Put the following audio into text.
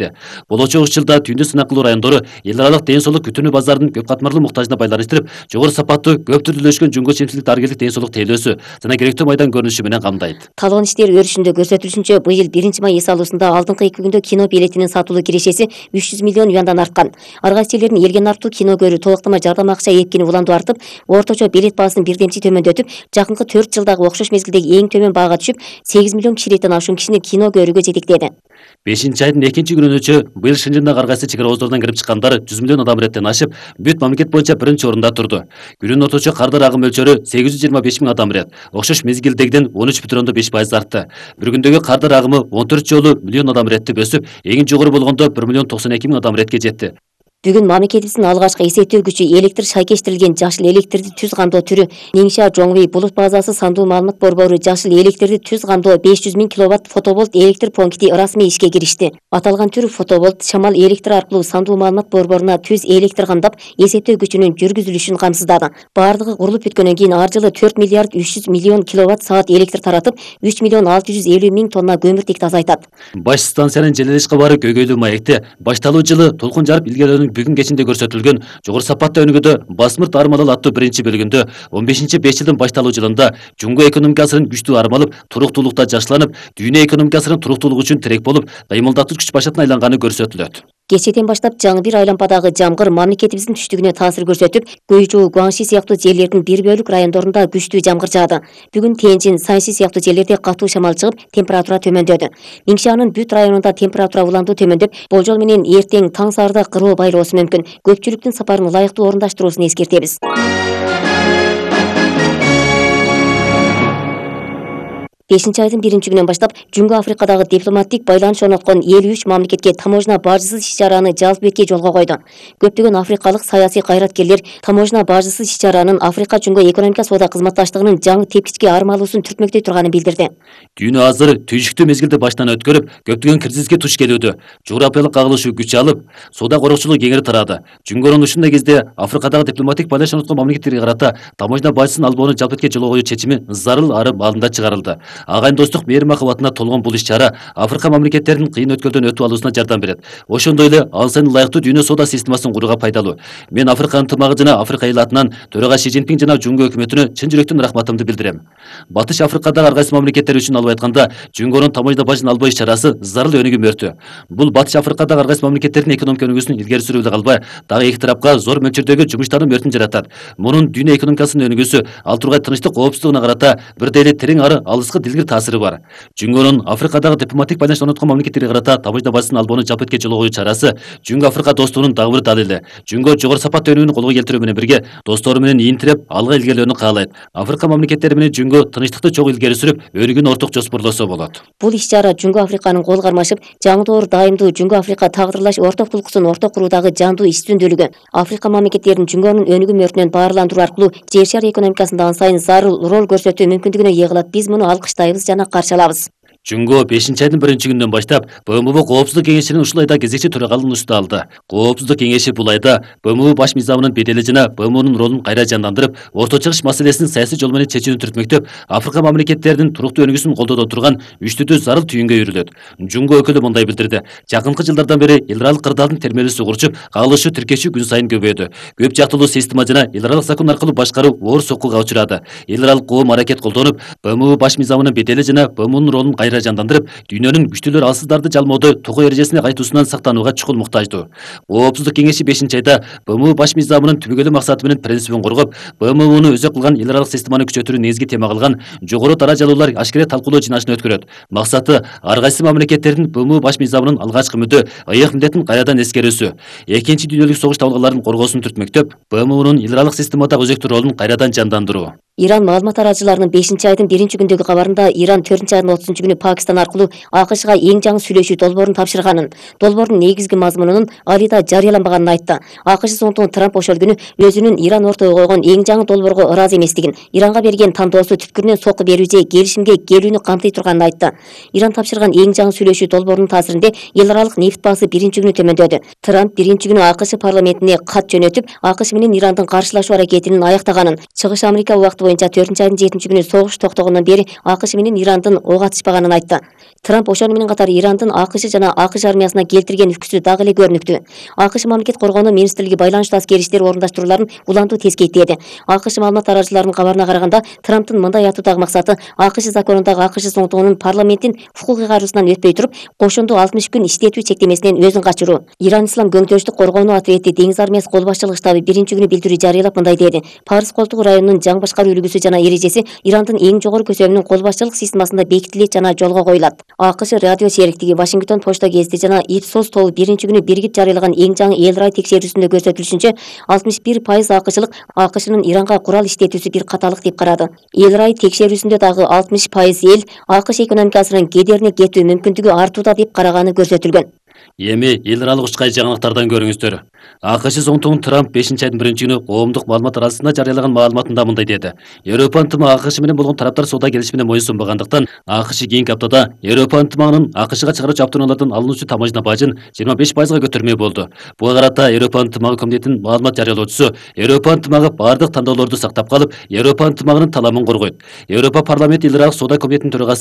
көрсөттү. Болочок 3 жылда түйүндү сынак кылуу райондору эл аралык ден соолук күтүүнү базарынын көп катмарлуу муктажына байланыштырып, жогору сапаттуу, көп түрдүүлөшкөн жунго чемсиздик дарыгерлик ден соолук тейлөөсү жана керектүү майдан көрүнүшү менен камдайт. Талгын иштер өрүшүндө көрсөтүлүшүнчө быйыл 1 май эс алуусунда алдыңкы 2 күндө кино билетинин сатылуу кирешеси 300 миллион юандан арткан. Ар кайсы элдердин элге нарптуу кино көрүү толуктама жардам акча эпкини уланду артып, орточо билет баасын бирдемчи төмөндөтүп, жакынкы 4 жылдагы окшош мезгилдеги эң төмөн баага түшүп, 8 миллион кишиликтен ашуун кишини кино көрүүгө жетектеди. 5-айдын 2 күнүнөчө быйыл Шынжындагы ар кайсы чек ара ооздорунан кирип чыккандар 100 миллион адам иреттен ашып, бүт мамлекет боюнча 1-орунда турду. Күнүнүн орточо кардар агым мөлчөрү 825 миң адам ирет. Окшош мезгилдегиден 13,5% артты. Bir күндөгү кардар агымы 14 жолу миллион адам иретти өсүп, эң жогору болгондо 1 миллион 92 миң адам иретке жетти. Бүгүн мамлекетибиздин алгачкы эсептөөгүчү электр шайкештирилген жашыл электрди түз кандоо түрү Неңша Жоңви булут базасы сандуу маалымат борбору жашыл электрди түз кандоо 500 миң киловатт фотоболт электр пункти ырасмий ишке киришти. Аталган түр фотоболт шамал электр аркылуу сандуу маалымат борборуна түз электр кандап эсептөө күчүнүн жүргүзүлүшүн камсыздады. Бардыгы курулуп бүткөндөн кийин ар жылы 4 миллиард 300 миллион киловатт саат электр таратып, 3 миллион 650 миң тонна көмүртекти азайтат. Баш станциянын желелеш кабары көйгөйлүү маекте башталуу жылы толкун жарып илгерөөнүн бүгүн кечинде көрсөтүлгөн жогору сапаттуу өнүгүүдө басмырт армалал аттуу 1-бөлүгүндө 15-5 жылдын башталуу жылында жунго экономикасынын күчтүү армалып, туруктуулукта жакшыланып, дүйнө экономикасынын туруктуулугу үчүн тирек болуп, кыймылдатуу күч башатына айланганы көрсөтүлөт. Кечээден баштап жаңы бир айлампадагы жамгыр мамлекетибиздин түштүгүнө таасир көрсөтүп, Гуйжу, Гуанши сыяктуу жерлердин бир бөлүк райондорунда күчтүү жамгыр жаады. Бүгүн Тенжин, Санси сыяктуу жерлерде катуу шамал чыгып, температура төмөндөдү. Нingxианын бүт районунда температура уландуу төмөндөп, болжол менен эртең таң саарда кыроо байлоосу мүмкүн. Көпчүлүктүн сапарын ылайыктуу орундаштыруусун эскертебиз. 5-айдын 1-күнүнөн баштап Жунго Африкадагы дипломаттик байланыш орноткон 53 мамлекетке таможня бажысыз иш-чараны жалпы бетке жолго койду. Көптөгөн африкалык саясий кайраткерлер таможня бажысыз иш-чаранын Африка Жунго экономика соода кызматташтыгынын жаңы тепкичке армалуусун түртмөктөй турганын билдирди. Дүйнө азыр түйшүктүү мезгилди баштан өткөрүп, көптөгөн кризиске туш келүүдө. Жогорапиялык кагылышуу күч алып, соода корокчулук кеңири тарады. Жунгонун ушундай кезде Африкадагы дипломаттик байланыш орноткон мамлекеттерге карата таможня бажысын албоону жалпы бетке жолго коюу чечими зарыл арым алдында чыгарылды. Агайындоостук мээрим акыбатына толгон бул иш-чара Африка мамлекеттеринин кыйын өткөлдөн өтүп алуусуна жардам берет. Ошондой эле ал сайын ылайыктуу дүйнө соода системасын курууга пайдалуу. Мен Африка ынтымагы жана Африка эл атынан төрага Ши Цзиньпин жана Жунго өкмөтүнө чын жүрөктөн рахматымды билдирем. Батыш Африкадагы ар кайсы мамлекеттер үчүн алып айтканда, Жунгонун таможня бажын албоо иш-чарасы зарыл өнүгүм өртү. Бул Батыш Африкадагы ар кайсы мамлекеттердин экономика өнүгүүсүн илгери сүрүү эле калбай, дагы эки тарапка зор мөлчөрдөгү жумуштардын өртүн жаратат. Мунун дүйнө экономикасынын өнүгүүсү, ал тургай тынчтык, коопсуздугуна карата бирдей эле терең ары алыскы дилгир таасири бар. Жунгонун Африкадагы дипломаттик байланыш орноткон мамлекеттерге карата таможня бажысын албоону жалпы бетке жолго коюу чарасы Жунго Африка достугунун дагы бир далили. Жунго жогору сапаттуу өнүгүүнү колго келтирүү менен бирге достору менен ийин тиреп, алга илгерилөөнү каалайт. Африка мамлекеттери менен Жунго тынчтыкты чогуу илгери сүрүп, өнүгүүнү орток жоспорлосо болот. Бул иш-чара Жунго Африканын кол кармашып, жаңы дайымдуу Жунго Африка тагдырлаш орток тулкуусун орток куруудагы жандуу иш үстүндүүлүгү. Африка мамлекеттеринин Жунгонун өнүгүм өртүнөн баарландыруу аркылуу жер шары экономикасында ан сайын зарыл роль көрсөтүү мүмкүндүгүнө ээ кылат. Биз муну алкыштайбыз жана каршы алабыз. Жунго 5-айдын 1-күнүнөн баштап БМУ Коопсуздук кеңешинин ушул айда кезекчи төрагалыгын алды. Коопсуздук кеңеши бул айда БМУ баш мыйзамынын бедели жана БМУнун ролун кайра жандандырып, Орто Чыгыш маселесин саясий жол менен чечүүнү түртмөктөп, Африка мамлекеттеринин туруктуу өнүгүүсүн колдодо турган үчтүдүү зарыл түйүнгө үйрүлөт. Жунго өкүлү мындай билдирди: жакынкы жылдардан бери эл аралык кырдаалдын термелүүсү курчуп, кагылышы тиркешүү күн сайын көбөйдү. Көп жактылуу система жана эл аралык закон аркылуу башкаруу оор соккуга учурады. Эл аралык коом аракет колдонуп, БМУ баш мыйзамынын бедели жана БМУнун ролун кайра жандандырып, дүйнөнүн күчтүүлөр алсыздарды жалмоодо тогоо эрежесине кайтуусунан сактанууга чукул муктаждуу. Коопсуздук кеңеши 5-айда БМУ баш мыйзамынын түбөгөйлүү максаты менен принцибин коргоп, БМУну өзөк кылган эл аралык системаны күчөтүүнү негизги тема кылган жогору даражалуулар ашкере талкуулоо жыйнашын өткөрөт. Максаты ар кайсы мамлекеттердин БМУ баш мыйзамынын алгачкы мүдө, ыйык милдетин кайрадан эскерүүсү, Экинчи дүйнөлүк согуш табылганлардын коргоосун түртмөктөп, БМУнун эл аралык системадагы өзөктүү ролун кайрадан жандандыруу. Иран маалымат таратчыларынын 5-айдын 1-күндөгү кабарында Иран 4-айдын 30-күнү Пакистан аркылуу АКШга эң жаңы сүйлөшүү долбоорун тапшырганын, долбоордун негизги мазмунунун али да жарыяланбаганын айтты. АКШ соңтугу Трамп ошол күнү өзүнүн Иран ортого койгон эң жаңы долбоорго ыраазы эместигин, Иранга берген тандоосу түпкүрүнөн сокку берүү же келишимге келүүнү камтый турганын айтты. Иран тапшырган эң жаңы сүйлөшүү долбоорунун таасиринде эл аралык нефт баасы 1-күнү төмөндөдү. Трамп 1-күнү АКШ парламентине кат жөнөтүп, АКШ менен Ирандын каршылашуу аракетинин аяктаганын, Чыгыш Америка убакыты боюнча 4-айдын 7-күнү согуш токтогондон бери АКШ менен Ирандын ок атышпаганын айтты. Трамп ошону менен катар Ирандын АКШ жана АКШ армиясына келтирген үкүсү дагы эле көрүнүктүү. АКШ мамлекет коргоонуу министрлиги байланыштуу аскери иштер орундашырууларын улантуу тескейттеди. АКШ маалымат таратуучуларынын кабарына караганда, Трамптын мындай айтуудагы максаты АКШ законундагы АКШ соңтугунун парламенттин укук ыйгаруусунан өтпөй туруп, кошумдуу 60 күн иштетүү чектемесинен өзүн качыруу. Иран Ислам көңтөштүк коргоонуу ответи деңиз армиясы кол башчылык штабы 1-күнү билдирүү жарыялап мындай деди: Парс колтугу районунун жаңы башкаруу үлгүсү жана эрежеси Ирандын эң жогору көсөмүнүн кол башчылык системасында бекитилет жана жолго коюлат. АКШ радио сериктиги Вашингтон почта гезити жана Ipsos тобу 1-күнү биригип жарыялаган эң жаңы эл рай текшерүүсүндө көрсөтүлүшүнчө, 61% АКШлык АКШнын Иранга курал иштетүүсү бир каталык деп карады. Эл рай текшерүүсүндө дагы 60% эл АКШ экономикасынын кедерине кетүү мүмкүндүгү артууда деп караганы көрсөтүлгөн. Эми эл аралык учкай жаңылыктардан көрүңүздөр. АКШ соңтугун Трамп 5-айдын 1-күнү коомдук маалымат арасында жарыялаган маалыматында мындай деди: Европа ынтымагы АКШ менен болгон тараптар соода келишимине моюн сунбагандыктан, АКШ кийинки аптада Европа ынтымагынын АКШга чыгаруучу автоунаалардан алынуучу тамажна бажын 25%га көтөрмөй болду. Буга карата Европа ынтымагы комитетинин маалымат жарыялоочусу Европа ынтымагы бардык тандоолорду сактап калып, Европа ынтымагынын таламын коргойт. Европа парламенти эл аралык соода комитетинин төрагасы